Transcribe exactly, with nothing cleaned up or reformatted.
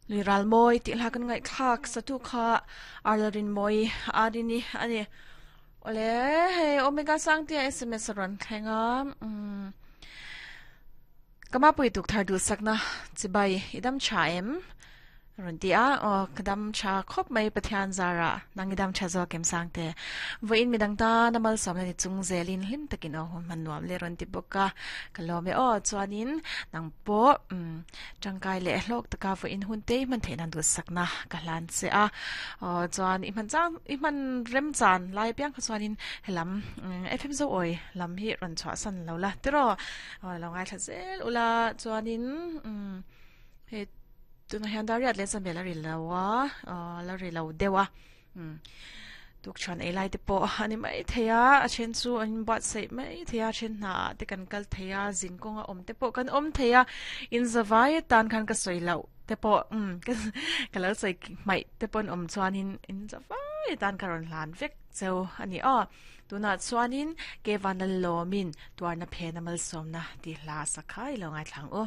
Luiral mawi tih hla kan ngaihthlak satu kha Arlarin mawi Arini ani. Ole hei Omega Sangtea S M S a rawn thleng a umm Kama pui tuk thar duh sakna chibai i dam tha em rawn ti a aw ka dam tha khawp mai Pathian zara nang i dam tha zawk em Sangte vawiin midang tan a malsawmna ni chung zelin hlim takin aw hun hman nuam le rawn ti bawk a ka lawm e aw chuanin nang pawh umm tangkai leh hlawk taka vawiin hun te i hman theih nan duhsakna ka hlan che a aw chuan i hman chang i hman rem chan lai apiang kha chuanin helam F M Zoawi lam hi rawn chhuahsan lo la tiraw aw lo ngaithla zel ula chuanin umm hei tunah hian dar riat leh chanvel a ri lo a aw la ri lo deuh a umm tuk chuan ei lai te pawh a ni mai thei a a then chu an buatsaih mai thei a a then hna ah te kan kal thei a zin kawnga awm te pawh kan awm thei a inzavai atan khan ka sawi loh te pawh umm ka lo sawi hmaih te pawh an awm chuanin inzavai atan ka rawn hlan vek cheu a ni aw tunah chuanin Kevan Lalawmin tuarna phena malsawmna tih hla a sak kha i lo ngaithla ang u.